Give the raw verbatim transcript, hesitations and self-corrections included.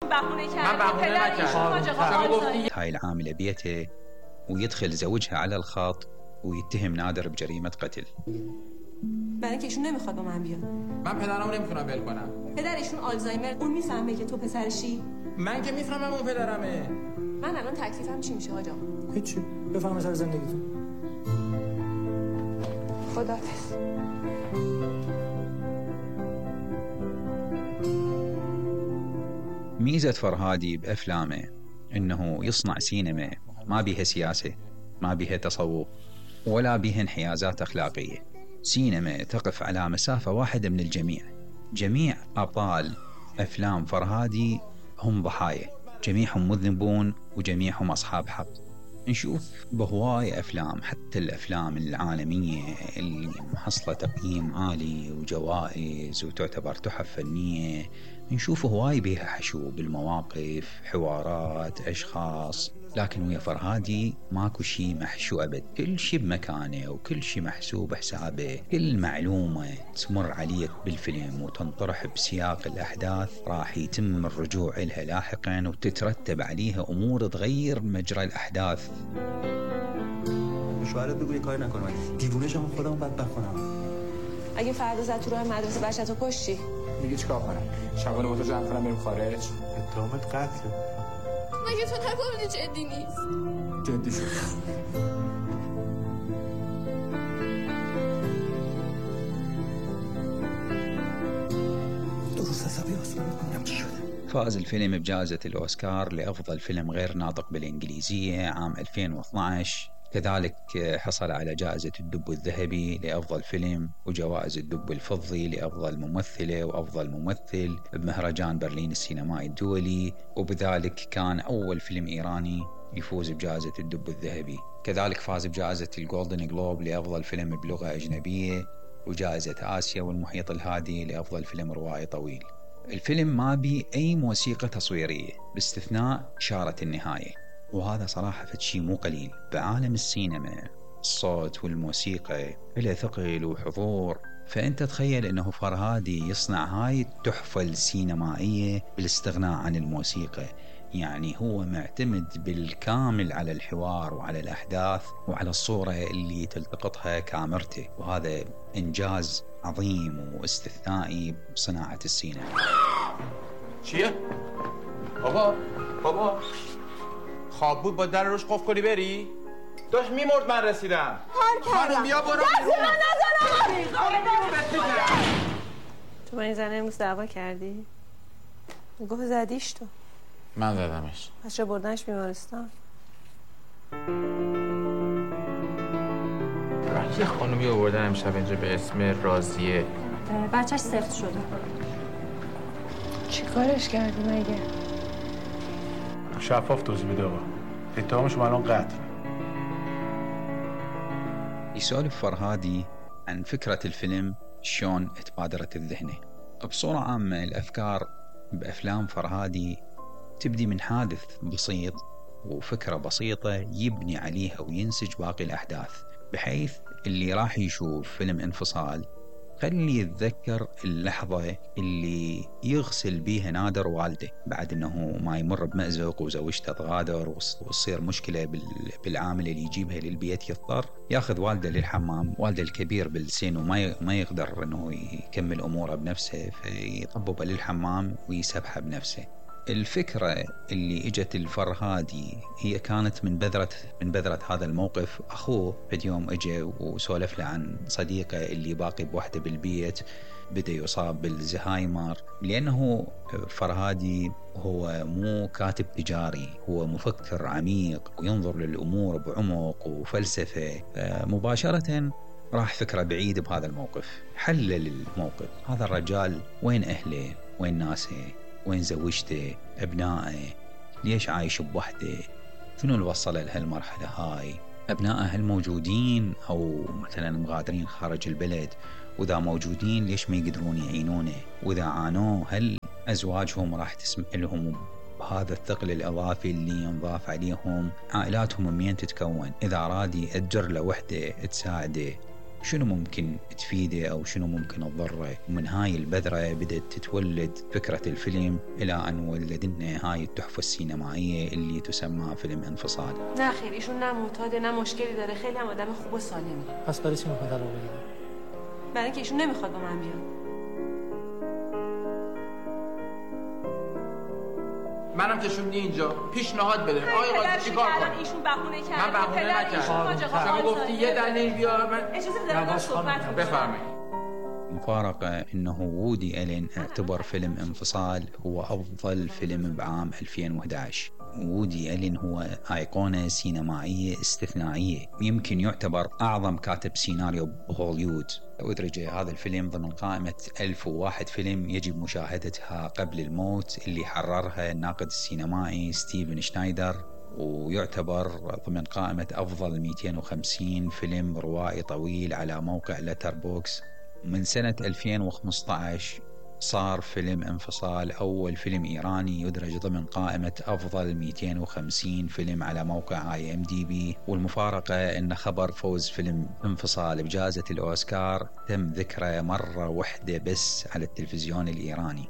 من بهونه نکردم. هاي العاملة بيته ويدخل زوجها على الخط ويتهم نادر بجريمة قتل. برای اینکه ایشون نمیخواد با من بیاد. من پدرمو نمیتونم ول کنم. پدرشون آلزایمر، اون میفهمه که تو پسرشی؟ من که میفهمم اون پدرمه. من الان تکلیفم چی میشه آقا؟ هیچی. بفهم سر زندگیتون. خداحافظ. ميزة فرهادي بأفلامه إنه يصنع سينما ما بيها سياسة، ما بيها تصوف، ولا بيها انحيازات أخلاقية. سينما تقف على مسافة واحدة من الجميع. جميع أبطال أفلام فرهادي هم ضحايا، جميعهم مذنبون وجميعهم أصحاب حق. نشوف بهواي أفلام، حتى الأفلام العالمية اللي محصلة تقييم عالي وجوائز وتعتبر تحف فنية، نشوف هواي بيها حشو بالمواقف، حوارات، أشخاص. لكن ويا فرهادي ماكو شي محشو أبد، كل شي بمكانه وكل شي محسوب حسابه. كل معلومة تمر عليك بالفيلم وتنطرح بسياق الأحداث راح يتم الرجوع إلها لاحقا وتترتب عليها أمور تغير مجرى الأحداث. شوهرت بگو یه کاری نکنم، دیوونه شم خودمو بدبخت کنم. اگه فردا زد تو راه مدرسه بچه‌تو کشتی دیگه چیکار کنم؟ شبانه با تو جمع کنم بریم خارج؟ اتهامت قتله. مگه تو نگفتی جدی نیست؟ جدی شد. درست حسابی اصلا نمیدونم چی شده. فاز الفيلم بجائزة الأوسكار لأفضل فيلم غير ناطق بالإنجليزية عام ألفين واثناشر. كذلك حصل على جائزة الدب الذهبي لأفضل فيلم وجوائز الدب الفضي لأفضل ممثلة وأفضل ممثل بمهرجان برلين السينمائي الدولي، وبذلك كان أول فيلم إيراني يفوز بجائزة الدب الذهبي. كذلك فاز بجائزة الجولدن جلوب لأفضل فيلم بلغة أجنبية، وجائزة آسيا والمحيط الهادي لأفضل فيلم روائي طويل. الفيلم ما بي أي موسيقى تصويرية باستثناء إشارة النهاية، وهذا صراحة شيء مو قليل بعالم السينما. الصوت والموسيقى له ثقل وحضور، فأنت تخيل أنه فرهادي يصنع هاي التحفة السينمائية بالاستغناء عن الموسيقى. يعني هو معتمد بالكامل على الحوار وعلى الأحداث وعلى الصورة اللي تلتقطها كاميرته، وهذا إنجاز عظيم واستثنائي بصناعة السينما. چیه؟ بابا بابا خواب بود با در روش قفل کنی بری؟ داشت میمرد من رسیدم. کار کردم. خانم بیا برو. دست من نزنم. تو با این زنه امروز دعوا کردی؟ گفت زدیش تو. من زدمش. پس چه بردنش بیمارستان؟ یه خانومی آوردن امشب اینجا به اسم راضیه. بچهش سفت شده. چی کارش کردی مگه؟ شفاف توضیح بده آقا. اتهامش الان قتل. يسولف فرهادي عن فكرة الفيلم شلون تبادرت الذهنه. بصورة عامة الأفكار بأفلام فرهادي تبدي من حادث بسيط وفكرة بسيطة يبني عليها وينسج باقي الأحداث، بحيث اللي راح يشوف فيلم انفصال خلي يتذكر اللحظة اللي يغسل بيها نادر والده بعد انه ما يمر بمأزق وزوجته تغادر وتصير مشكلة بالعامل اللي يجيبها للبيت، يضطر ياخذ والده للحمام، والده الكبير بالسن وما ما يقدر انه يكمل اموره بنفسه، فيطببه للحمام ويسبحه بنفسه. الفكرة اللي اجت الفرهادي هي كانت من بذرة من بذرة هذا الموقف. اخوه في يوم اجى وسولف له عن صديقه اللي باقي بوحده بالبيت بدأ يصاب بالزهايمر، لأنه فرهادي هو مو كاتب تجاري، هو مفكر عميق وينظر للأمور بعمق وفلسفة. مباشرة راح فكرة بعيد بهذا الموقف، حلل الموقف. هذا الرجال وين أهله، وين ناسه، وين زوجته، أبنائه، ليش عايش بوحده، شنو اللي وصله لهالمرحلة هاي، أبنائه هل موجودين أو مثلا مغادرين خارج البلد، وإذا موجودين ليش ما يقدرون يعينونه، وإذا عانوا هل أزواجهم راح تسمح لهم بهذا الثقل الإضافي اللي ينضاف عليهم، عائلاتهم منين تتكون، إذا أراد يأجر له وحدة تساعده شنو ممكن تفيده أو شنو ممكن تضره. ومن هاي البذرة بدأت تتولد فكرة الفيلم إلى أن ولد لنا هاي التحفة السينمائية اللي تسمى فيلم انفصال. نه خیر ایشون نه معتاده نه مشکلی داره، خیلی هم آدم خوب و سالمی. پس برای چی میخواد طلاق بگیره؟ برای اینکه ایشون نمیخواد با من بیاد. منم کشوندی اینجا پیشنهاد بده آقای قاضی چیکار کنم؟ ایشون بهونه کرد. من بهونه نکردم. شما گفتی یه دلیل بیار من اجازه بده من صحبت کنم. بفرمایید. مفارقة أنه وودي ألين اعتبر فيلم انفصال هو أفضل فيلم بعام ألفين وإحدى عشر. وودي ألين هو أيقونة سينمائية استثنائية، يمكن يعتبر أعظم كاتب سيناريو بهوليوود. أدرج هذا الفيلم ضمن قائمة ألف وواحد فيلم يجب مشاهدتها قبل الموت اللي حررها الناقد السينمائي ستيفن شنايدر، ويعتبر ضمن قائمة أفضل مئتين وخمسين فيلم روائي طويل على موقع لتربوكس. من سنة ألفين وخمسة عشر صار فيلم انفصال أول فيلم إيراني يدرج ضمن قائمة أفضل مئتين وخمسين فيلم على موقع آي إم دي بي. والمفارقة أن خبر فوز فيلم انفصال بجائزة الأوسكار تم ذكره مرة واحدة بس على التلفزيون الإيراني.